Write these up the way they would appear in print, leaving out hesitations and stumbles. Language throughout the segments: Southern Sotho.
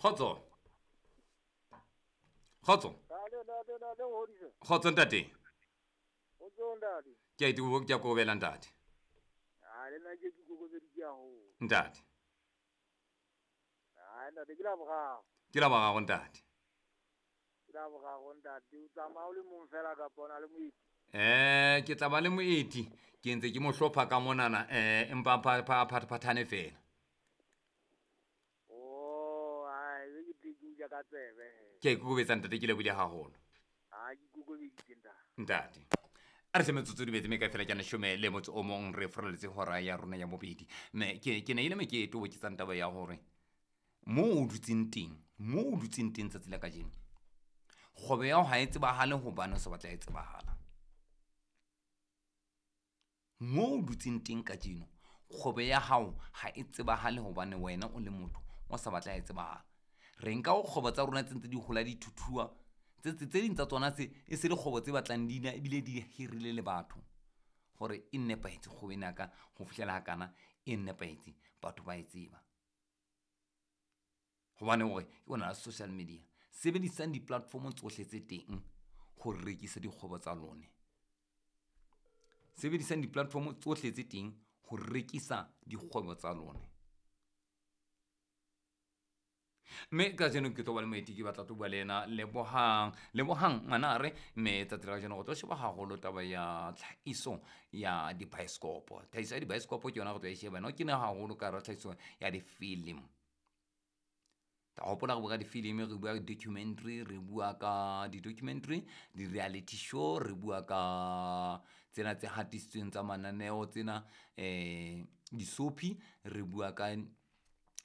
Kgotso. Kgotso. Kgotso ntate. Ke a itubo ke a kokobela ntate. Ntate. Ke la boraro ntate. Ke tla ba le moeti ke ntse ke mo hlopha ka monana empa phathane fela. Ke a ikokobetsa ntate ke lebohile haholo. Ntate. A re hle metsotso di betse me ka fela ke leshome le motso o mong re furaletse hora ya rona ya bobedi. Me ke ne ile me ke toboketsang taba ya hore mo o dutseng teng, mo o dutseng teng tsatsi la kajeno. Kgwebo ya hao ha e tsebahale hobane o sa batla e tsebahala. Mo o dutseng teng kajeno, kgwebo ya hao ha e tsebahale hobane wena o le motho o sa batla e tsebahala. Re nka ho kgwebo tsa rona tse ntse di hola di thuthuwa, tse ding tsa tsona tse e se dikgwebo tse batlang di na ebile di hirile le batho hore e nepahetse kgwebo ena ka ho fihlela hakana e nepahetse batho ba e tseba. Hobane hore ke ona social media, sebedisang di-platform tsohle tse teng ho rekisa dikgwebo tsa lone. Sebedisang di-platform tsohle tse teng ho rekisa dikgwebo tsa lone. Mme kajeno ke tlo ba le moeti ke batla tlo bua le yena Lebohang. Lebohang Manare, mme tsatsi la kajeno re tlo sheba haholo taba ya tlhahiso ya dibaesekopo. Tlhahiso ya dibaesekopo ke yona re tlo e sheba. No ke ne haholo ka hara tlhahiso ya difilimi. Ta hopola re bua ka difilimi, re bua ka documentary, re bua ka di-documentary, di-reality show, re bua ka tsena tse hatisitsweng tsa mananeo tsena di-soapie, re bua ka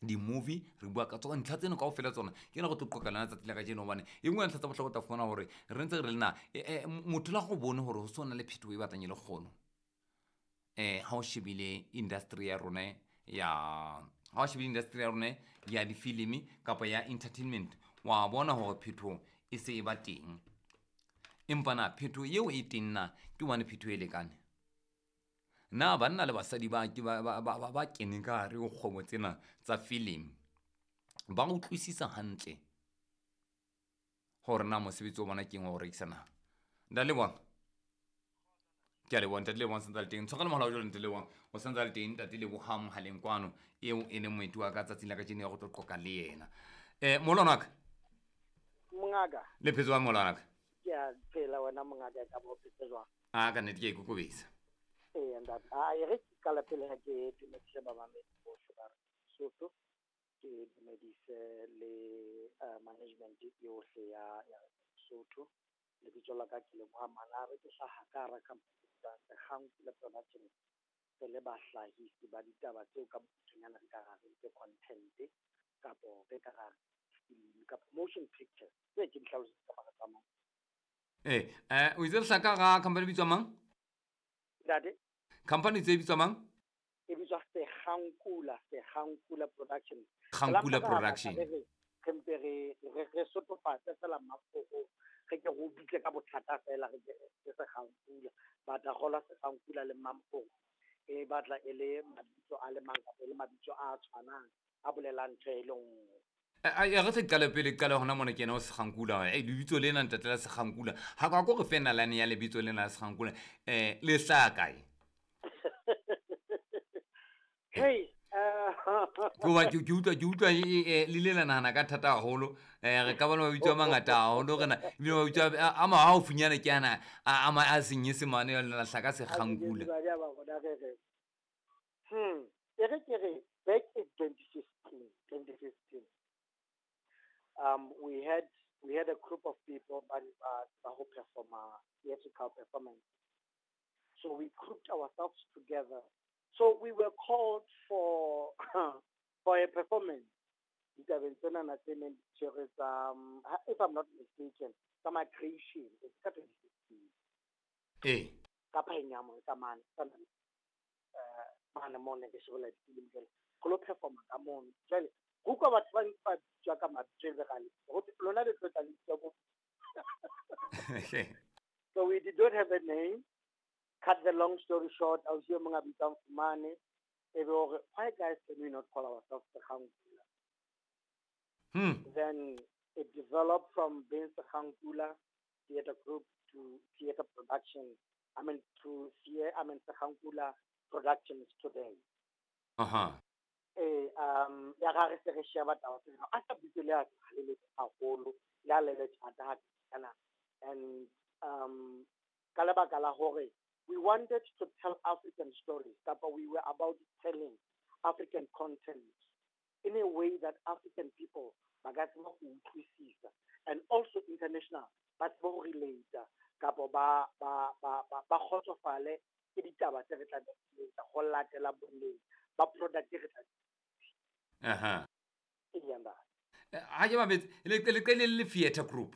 di-movie, re bua ka tsona ntlha tseno kaofela tsona. Ke ena re tlo qoqa lena tsatsi la kajeno hobane e nngwe ya ntlha tsa bohlokwa o tla fumana hore re ntse re le na motho le ha o bone hore ho so na le phetoho e batlang e le kgolo. Ha o shebile industry ya rona ya ha o shebile industry ya rona ya difilimi kapa ya entertainment, wa bona hore phetoho e se e ba teng. Empa na phetoho eo e teng na ke hobane phetoho e lekane? Na banna le basadi ba ba keneng ka hare ho kgwebo tsena tsa filimi ba utlwisisa hantle hore na mosebetsi wa bona ke eng wa ho rekisa na? Ntate Lebohang. Ke a leboha ntate Lebohang santse a le teng. Tshwarelo mohala wa jwale ntate Lebohang. O santse a le teng ntate Lebohang mohaleng kwano eo e leng moeti wa ka tsatsing la kajeno ya go tlo qoqa le yena. Molwana wa ka. Mongaka. Le phetse jwang molwana wa ka? Ke a phela wena mongaka ka bo phetse jwang? A ka nnete ke a ikokobetsa. Ee ntate. A e re ke qala pele ha ke dumedise bamamedi bohle ba Sotho. Ke dumedise le management yohle ya Sotho. Lebitso la ka ke Lebohang Manare, ke hlaha ka hara company tsa Sekgankula Production. Re le bahlahisi ba ditaba tseo ka bokgutshwanyane re ka ra re ke content kapo re ka ra film kapo motion pictures. Tse ke di hlalositse ka mara tsa mang. O itse re hlaha ka hara company e bitswang mang? Ntate? Company tse bitswang mang? E bitswa Sekgankula, Sekgankula Production. Kgankula Production. Re mpe re sotofatse fela mafoko, re ke re o bitse ka bothata fela re ke re Sekgankula. But a kgolwa Sekgankula le Mampong e batla e le mabitso a le mang kapa e le mabitso a tshwanang a bolelang ntho e le nngwe. Re se qale pele qale hona mona ke yena o Sekgankula. Lebitso lena ntate la Sekgankula. Ha ka ko re fe nalane ya lebitso lena la Sekgankula. Le hlaha kae? Hey, Ke utlwa le ile la nahana ka thata haholo. Re ka ba le mabitso a mangata haholo rena. Ebile mabitso a mahaufinyana ke ana a Senyesemane la hlaha ka Sekgankula. E re ke re back in 2015. We had a group of people ba ho performa theatrical performance. So we grouped ourselves together. So we were called for for a performance. Ditabeng tsena tse neng di tshwerwe tsa, if I'm not mistaken, tsa migration, it's ka 2016. Ka Phaenyamo, ka mane, mane mo ne ke shebella difilimi jwale. Re lo performa ka mono. Jwale, ho utlwa batho ba ntse ba bitswa ka mabitso e le kgale. Ho thwe, lona le tlo tla le bitswa bo. So we did not have a name. Cut the long story short, ausi e mong a bitswang Fumane, e be hore, why guys can we not call ourselves Sekgankula? Then it developed from being Sekhankula Theatre Group to theatre production. I mean, to I mean, Sekhankula Productions today. Eh, ya ga re se re sheba taba tsena, a sa bitso le a le le haholo, le a le le thata ha kana. And ka lebaka la hore we wanted to tell African stories, kapa we were about telling African content in a way that African people ba ka tseba ho utlwisisa, and also international ba tsebe ho relate, kapa ba kgotsofale ke ditaba tse re tla di etsa ho latela boleng ba product e re tla. Ee, ntate. Ha ke mametse, le qele le theatre group.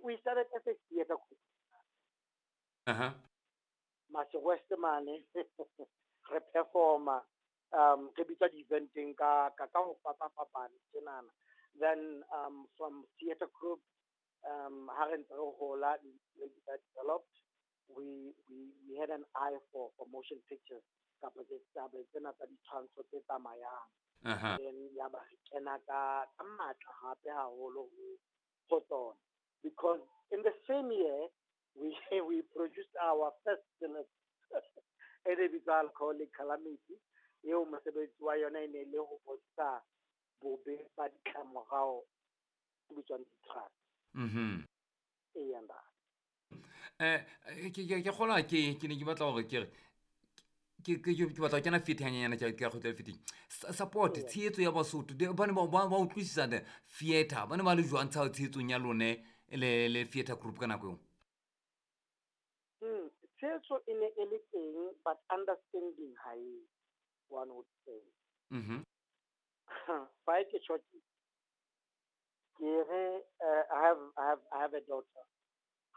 We started as a theatre group. Mase West mane re performa, re bitswa di-eventeng ka ho fapafapana tjenana. Then from theatre group, ha re ntse re hola, that developed, we had an eye for motion pictures, kapa tse tsabe tsena tsa ditshwantsho tse tsamayang. Then ya ba re kena ka matla hape haholo ho tsona, because in the same year we produced our first film e re bitswa Alcoholic Calamity, eo mosebetsi wa yona e ne le ho bontsha bobe ba ditlamorao tse bitswang di-drugs. Ee, ntate. Ke kgolwa ke ne ke batla hore ke re ke batla ho kena theatre hanyane, ke a kgutlela theatre. Support, tshehetso ya Basotho, ba ne ba utlwisisa the theatre, ba ne ba le jwang tshehetsong ya lone le theatre group ka nako eo? Tshehetso e ne e le teng, but understanding ha e, one would say. Fa ke tjho ke re, I have a daughter.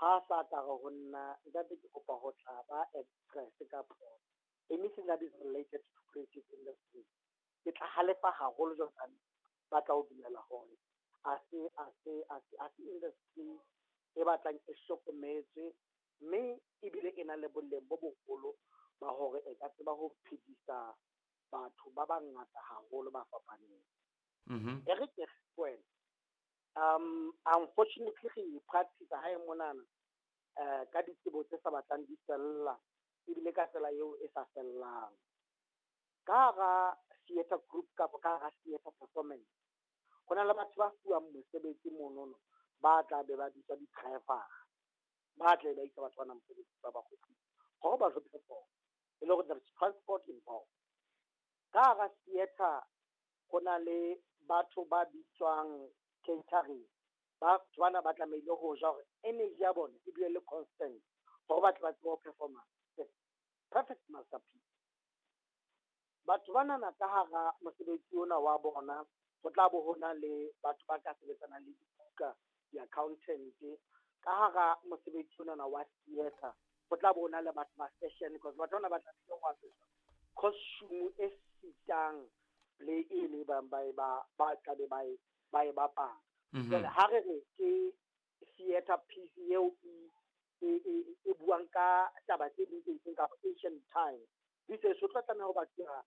Ha sa ka re ho nna, ntate, ke kopa ho tla ba actress kapa anything that is related to creative industry, ke tla halefa haholo jwalo ka ba tla o dumela hore a se industry e batlang e hlokometswe, mme ebile e na le boleng bo boholo ba hore e ka tseba ho phedisa batho ba bangata haholo ba fapaneng. E re ke re wena, unfortunately re practice hae monana ka ditsebo tse sa batlang di fella, ebile ka tsela eo e sa fellang. Ka hara theatre group kapa ka hara theatre performance, ho na le batho ba fuwang mosebetsi monono, ba tla be ba bitswa di-driver, ba tle ba isa batho bana mosebetsi, ba ba kgutlisa hore ba tlo perform, e le hore there is transport involved. Ka hara theatre ho na le batho ba bitswang catering, batho bana ba tlamehile ho ja hore energy ya bona e dule le constant, hore ba tle ba tsebe ho performa the perfect masterpiece. Batho banana ka hara mosebetsi ona wa bona, ho tla bo ho na le batho ba ka sebetsanang le dibuka, di-accountant. Ka hara mosebetsi onana wa theatre, ho tla bo ho na le batho ba fashion, because batho bana ba tlamehile ho apeswa costume e fitang play e le bang ba e ba tlabe ba e bapala. Jwale ha re re ke theatre piece eo e buang ka taba tse ding tse itseng kapa ancient time, this is, ho tlo tlameha ho batluwa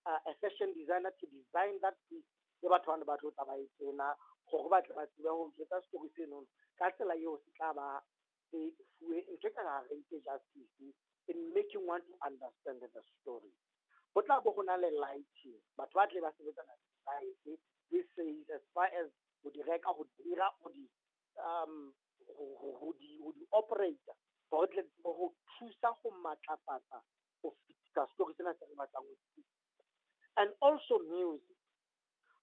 a fashion designer to design that piece, le batho bana ba tlo tla ba e tena hore ba tle ba tsebe ho jwetsa story senono ka tsela eo se tla ba se fuwe ntho e ka re itse justice in making one to understand the story. Ho tla bo ho na le lighting, batho ba tle ba sebetsana le light. This says as far as ho di reka, ho di dira, ho di operate, hore tle tsebe ho thusa ho matlafatsa ho fetisa story sena se re batlang ho se. And also music.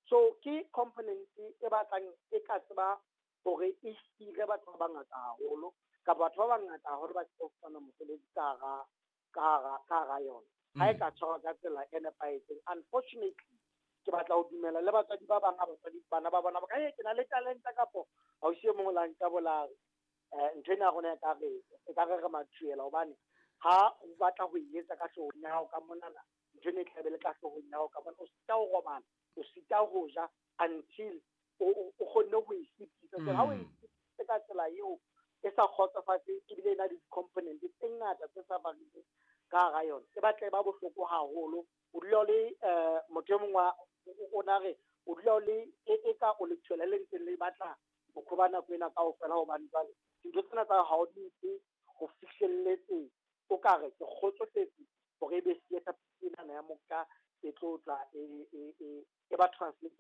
So ke component e batlang e ka tseba hore e hire batho ba bangata haholo, kapa batho ba bangata haholo ba tsebe ho fumana mosebetsi ka hara yona ha e ka tshwarwa ka tsela e nepahetseng. Unfortunately, ke batla ho dumela le batswadi ba bang, ha batswadi bana ba bona ba ka, ke na le talenta, kapo ausi e mongwe la nka bolare, ntho ena ya rona e ka re re mathuela, hobane ha o batla ho e etsa ka hloohong ya hao ka monana, ntho ena e tlabe le ka hloohong ya hao ka mona, o sita ho robala, o sita ho ja until o kgonne ho e fetisa. So ha o e fetise ka tsela eo e sa kgotsofatseng, ebile e na le di-component tse ngata tse sa barileng ka hara yona, e batla e ba bohloko haholo. O dula o le motho e mongwe o na re o dula o le e ka o le. batla bokho ba nako ena kaofela, hobane jwale dintho tsena tsa ha o di nke ho fihlelletse, o ka re ke kgotsofetse hore ebe theatre enana ya moka e tlo tla e ba translate.